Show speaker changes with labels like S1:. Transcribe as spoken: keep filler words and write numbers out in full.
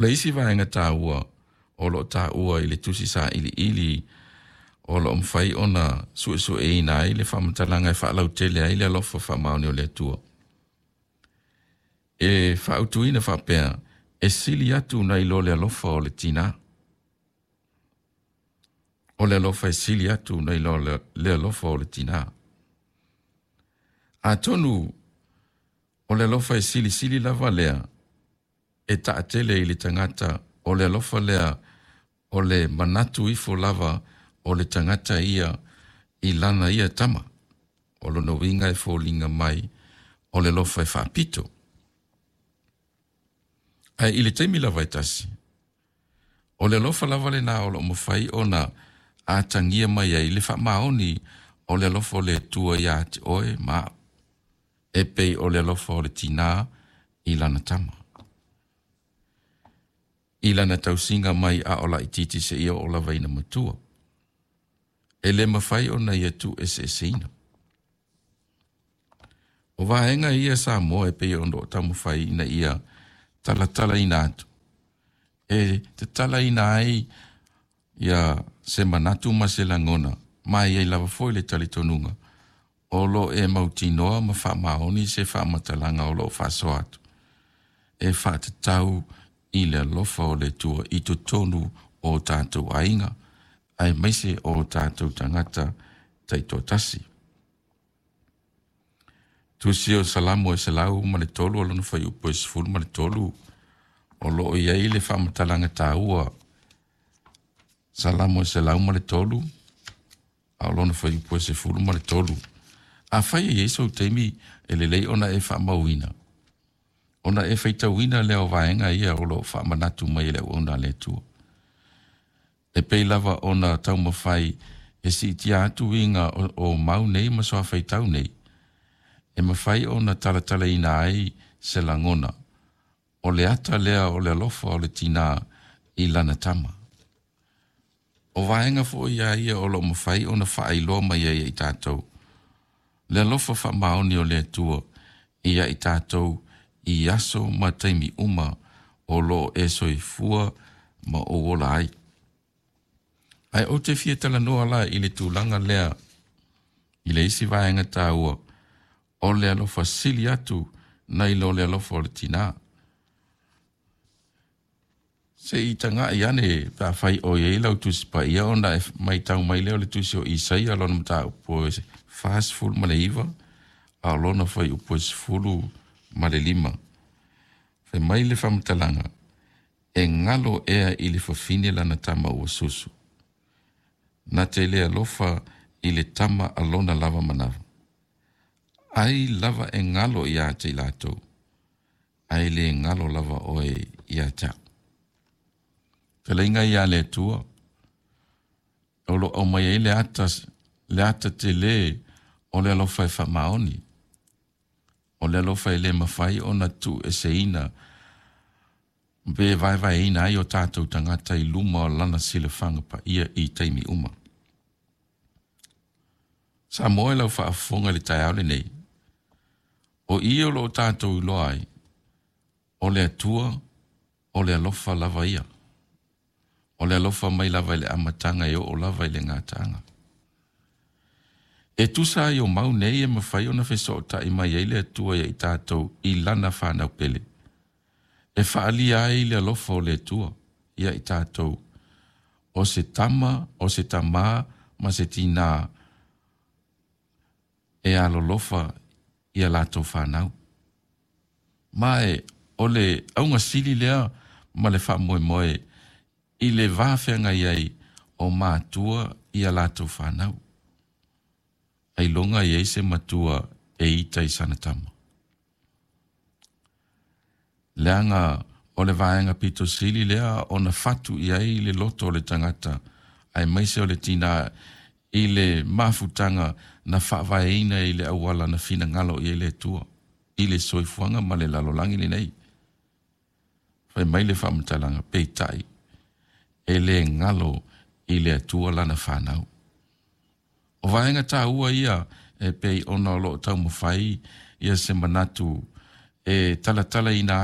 S1: O le isi vaega taua o lo o taua i le tusi sailiili o lo o mafai ona suesueina ai le faamatalaga e faalautele ai le alofa faamaoni o le Atua. E faautuina faapea, e sili atu nai lo le alofa o le tinā. O le alofa e sili atu nai lo le alofa o le tinā. Atonu o le alofa e silisili lava lea e taatele i le tagata o le alofa lea o le manatu ifo lava o le tagata ia i lana ia tama. O lona uiga e foliga mai o le alofa e faapito. Ae i le taimi lava e tasi, o le alofa lava lena o lo o mafai ona atagia mai ai le faamaoni o le alofa o le Atua ia te oe ma au, e pei o le alofa o le tinā i lana tama. I lana tausiga mai a o laitiiti seia oo lava ina matua. E le mafai ona ia tuueseeseina. O vaega ia Samoa e pei ona taumafai ina ia talatalaina atu. E tatalaina ai ia se manatu ma se lagona, ma e i ai lava foi le talitonuga o lo o e mautinoa ma faamaoni se faamatalaga o lo o faasoa atu e faatatau i le alofa o le Atua i totonu o tatou aiga, aemaise o tatou tagata taitoatasi. Tusi o Salamo e selau ma le tolu o lona fuaiupu e sefulu ma le tolu o lo o i ai le faamatalaga taua. Salamo e selau ma le tolu a o lona fuaiupu e sefulu ma le tolu. Afai e i ai sou taimi e lelei ona e faamauina, ona e faitauina lea o vaega ia o lo o faamanatu mai e le auauna a le Atua. E pei lava ona taumafai e siitia atu uiga o, o mau nei ma suafaitau nei, e mafai ona talatalaina ai se lagona, o le ata lea o le alofa o le tinā i lana tama. O vaega foi ia ia o lo o mafai ona faailoa mai ai ia i tatou le alofa faamaoni o le Atua ia i tatou i aso ma taimi uma o lo o e soifua ma ou ola ai. Ae ou te fia talanoa la i le tulaga lea i le isi vaega taua o le alofa sili atu nai lo le alofa o le tinā. Se i tagai ane pe afai o i ai lau Tusi Paia ona e matau mai lea o le tusi o Isaia lona mataupu e fasefulu ma le iva a o lona fuaiupu e sefulu ma le lima. Fai mai le faamatalaga, E galo ea i le fafine lana tama ua susu, na te le alofa i le tama a lona lava manava. Ai lava e galo ia te i latou, ae le galo lava oe ia te au. Fetalaiga ia le Atua, o lo o aumai ai le ata, le ata tele o le alofa e faamaoni, o le alofa e le mafai ona tuueseina pe vaevaeina ai o tatou tagata i luma o lana silafaga paia i taimi uma. Samoa i lau faafofoga i le taeao lenei, o i o lo o tatou iloa ai, o le Atua o le alofa lava ia. O le alofa mai lava i le amataga e oo lava i le gataaga. E tusa ai o mau nei e mafai ona fesootai mai ai le Atua ia i tatou i Lana fanau pele, e faaalia ai le alofa o le Atua ia i tatou, o se tama, o se tamā ma se tinā e alolofa i a latou fanau. Ma e o le auga sili lea ma le faamoemoe i le va feagai ai o matua i a latou fanau. Ailoga i ai se matua e ita i sana tama. Leaga o le vaega pito sili lea ona fatu i ai le loto o le tagata, aemaise o le tinā i le mafutaga na faavaeina i le auala na finagalo i ai le Atua i le soifuaga ma le lalolagi lenei. Fai mai le faamatalaga, peitai, e le galo i le Atua lana fanau. O vaega taua ia e pei ona o lo o taumafai ia se manatu e talatalaina